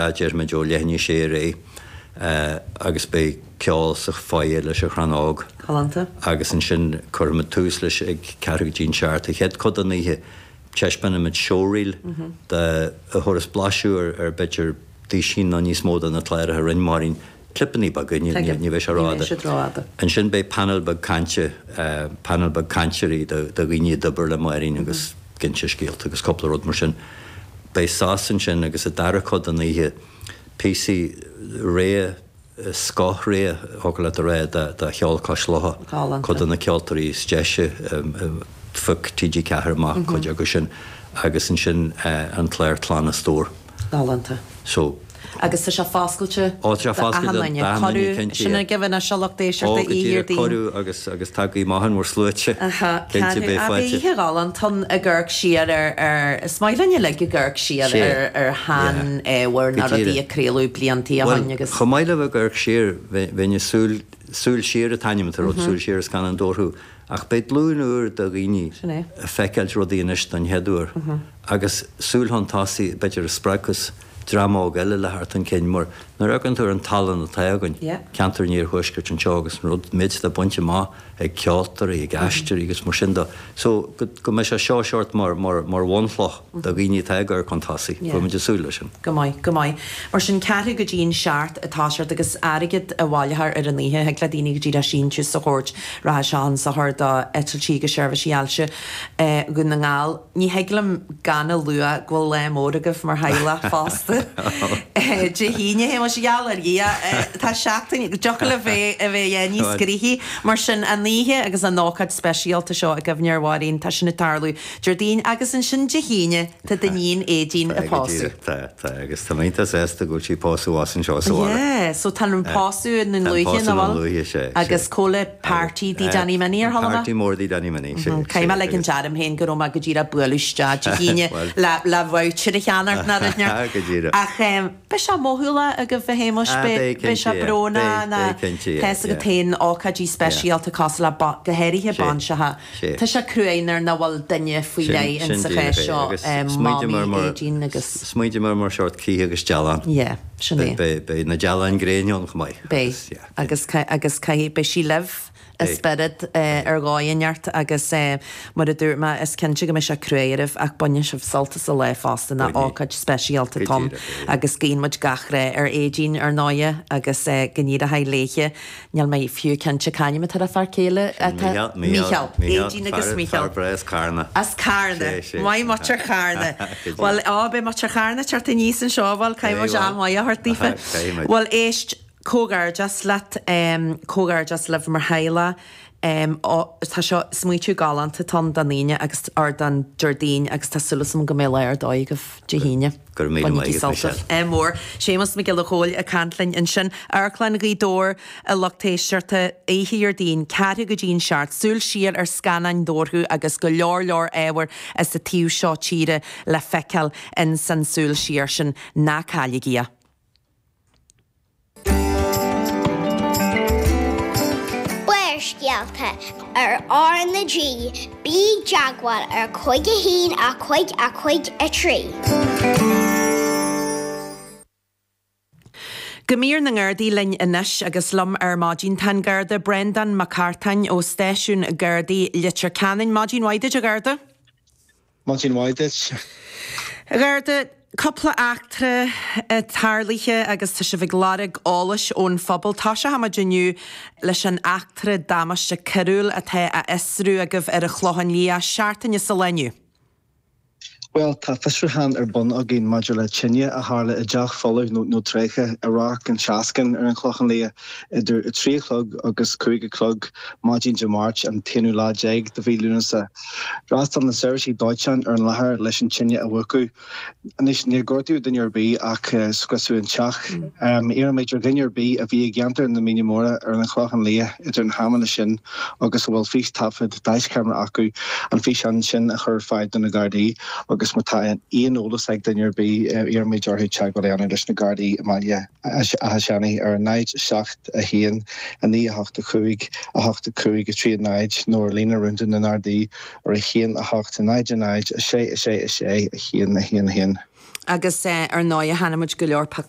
Déarfaimid ó leath i ndiaidh a sé ar aghaidh agus beidh ceol sa foyer leis an Chrann Óg. Galánta. Agus ansin cuirfimid tús leis ag ceathrú go dtí an seacht. An chéad chuid den oíche taispeánfaimid showreel de a thabharfas blaiseadh ar ar b'fhéidir duisín nó níos mó de na cláracha a rinne Máirín. Clipeanna beaga, ní bheidh sé rófhada. Ansin beidh panel beag cainte, panel beag cainteoirí de dhaoine a d'oibir le Máirín agus ag inse scéalta agus cúpla rud mar sin. Beidh sos ansin agus an dara cuid den oíche, píosaí rogha, scoth-rogha, thiocfadh leat a rá, de cheol cois locha. Cuid de na ceoltóirí is deise a phioc TG4 amach, cuid acu sin, agus ansin an clár Clann a Stór. Galánta. So. Agus tá sé foscailte Ó, tá sé foscailte d'achan duine. d'achan duine, Cuireadh, cinnte, sin yeah. ag a bheith seo lucht Ó, éisteachta go oíche díreach, Dhéardaoin. cuireadh agus, agus tagaigí amach in bhur sluaite. Aha, Cinnte, ceathrú, beidh ah, beidh fáilte. oíche ghalánta ann ag amharc siar ar, ar, is maith linn uilig ag amharc siar Sea, ar, ar yeah. shean-ábhar Go nó rudaí díreach. a craoladh bliantaí ó Bhuel, shoin agus. chomh maith le bheith ag amharc siar, bheinn, bheinn ag súil, Súil Siar an t-ainm atá ar an rud, Súil Siar ar Scannáin Dobharchú. Ach beidh glúin úr de dhaoine Sin é. ag feiceáilt rudaí anois don chéad uair agus súil chun tosaigh b'fhéidir a spreagfas dream óg eile le theacht chun cinn mar nuair a amharcann tú ar an tallann atá againn, ceantar an iarthuaiscirt anseo agus an rud, méid atá bainte amach ag ceoltóirí, ag aisteoirí agus mar sin de. So go, go mbeidh sé seo seort mar, mar, mar bhunchloch do dhaoine atá ag amharc chun tosaigh. Bhfuil muid ag súil leis sin. Go maith, go maith. Mar sin, ceathrú go dtí an seacht ag toiseacht agus airgead a bhaileofar ar an oíche, thig le daoine go díreach síntiús a thabhairt, rachaidh sé chun sochair do eitiltí agus seirbhísí ailse Dhún na nGall. Ní thig liom gan a lua go bhfuil lá mór agaibh mar theaghlach fosta. Dé hAoine, a Shéamuis, gheall ar Dhia, tá seachtain, dtiocfadh le bheith a bheith níos gnoithí. Mar sin, an oíche agus an ócáid speisialta seo i gcuimhne ar Mháirín, tá sin ag tarlú Déardaoin agus ansin Dé hAoine, tá d'iníon Aedín Tá, ag go pósadh. díreach, tá, tá, agus tá mé iontach sásta go bhfuil sí ag pósadh abhus anseo sa bhaile. Yeah, so tá an pósadh i nDún Tá an Lúiche, pósadh nach i Dún bhfuil? Lúiche, sea, Agus sea. cá bhfuil party Dí Danny Minnie ar Tá thalamh? party mór Dí Danny Minnie, sea, Caithfidh mé sea, ligean agus. orm féin go raibh mé go díreach ag bualadh isteach Dé hAoine Bhuel. le, le voucher a cheannacht ná rud neart. Go díreach. Ach em, beidh sé mothúlach agaibh a Shéamuis, Ah, beidh, beidh, beidh sé cinnte, yeah. brónach Beidh, ná beidh, cinnte, yeah, tá 'fhios agat yeah. féin ócáidí Yeah. speisialta cosúil le ba, go háirithe Sea. bainseacha. Sea. Tá sé cruaidh nuair nach bhfuil duine faoi Sin, leith sin in sa díreach chás é. seo, Agus smaointíomar Mamaí mar, Aedín agus. smaointíomar mar seort cith agus dealán. Yeah, sin é. Beidh, beidh na dealáin gréine ann chomh maith. Beidh. Agus, yeah. Agus, agus caithfidh, beidh sí libh i Beidh. spiorad ar dhóigh inteacht agus mar a dúirt mé, is cinnte go mbeidh sé cruaidh oraibh ach bainfidh sibh sult as an lá fosta ná Bainfidh. ócáid speisialta Go atá ann díreach é, yeah. agus guíonn muid gach rath ar Aedín ar ndóighe agus go n-éireoidh léithe. Níl mé fiú cinnte c'ainm atá ar a fear céile atá. Mícheál, Mícheál, Mícheál. Aedín agus Fear, Mícheál. fear breá as Carna. As Carna. Sé, sé. Maith muintir Charna. Go díreach. Bhuel, á, beidh muintir Charna ag teacht aníos anseo, bhuel, caithfidh muid am maith a thabhairt daofa. Caithfidh muid. Bhuel, éist, comhghairdeas leat, comhghairdeas libh mar theaghlach. Á, tá seo, smaoitiú galánta atá ann don Aoine agus, or don Déardaoin agus tá súil agam go mbeidh lá ar dóigh agaibh Dé hAoine. Go raibh míle maith Bainigí agat, sult Michelle. as. Ádh mór. Séamus Mac Giolla Chóill ag caint linn ansin. Amharclann Ghaoth Dobhair, a lucht éisteachta, oíche Dhéardaoin, ceathrú go dtí an seacht, súil siar ar scannáin Dobharchú agus go leor leor ábhair as an taobh seo tíre le feiceáil ins an súil siar sin. Ná cailligí é. Barrscéalta ar R na G, bí i dteagmháil ar 5 1 5 5 3. Go mír na nGardaí linn anois agus liom ar maidin tá an Garda Breandán Mac Cartáin ó Stáisiún Gardaí Leitir Ceanainn. Maidin mhaith duit a Gharda. Maidin mhaith duit. A Gharda, cúpla eachtra tarlaithe agus tá sibh ag lorg eolais ón phobal. Toiseochaimid inniu leis an eachtra damáiste coiriúil atá á fhiosrú agaibh ar an Chlochán Liath seachtain sa lá inniu. Bhuel, tá fiosrúchán ar bun againn maidir le tine a tharla i dteach folamh nó tréigthe i Ráth an tSeascainn ar an Chlochán Liath idir a 3 a chlog agus 5 a chlog maidin Dé Máirt, an t-aonú lá déag de mhí Lúnasa. D'fhreastail na seirbhísí dóiteáin ar an láthair leis an tine a mhúchadh. Anois, níor gortaíodh duine ar bith ach scriosadh an teach. Iarraimid ar dhuine ar bith a bhí i gceantar na Míne Móire ar an Chlochán Liath idir na hamanna sin agus a bhfuil fístaifead daischeamara acu an físeán sin a chur ar fáil do na Gardaí agus má tá aon eolas ag duine ar bith iarraimid orthu teagmháil a dhéanamh leis na Gardaí i mBaile Átha Seanaidh ar 0 7 1 9 8 5 8 5 3 0 nó ar líne rúnda na nGardaí ar 1 8 0 0 6 6 6 1 1 1. Agus ar ndóigh, chonaic muid go leor pictiúr.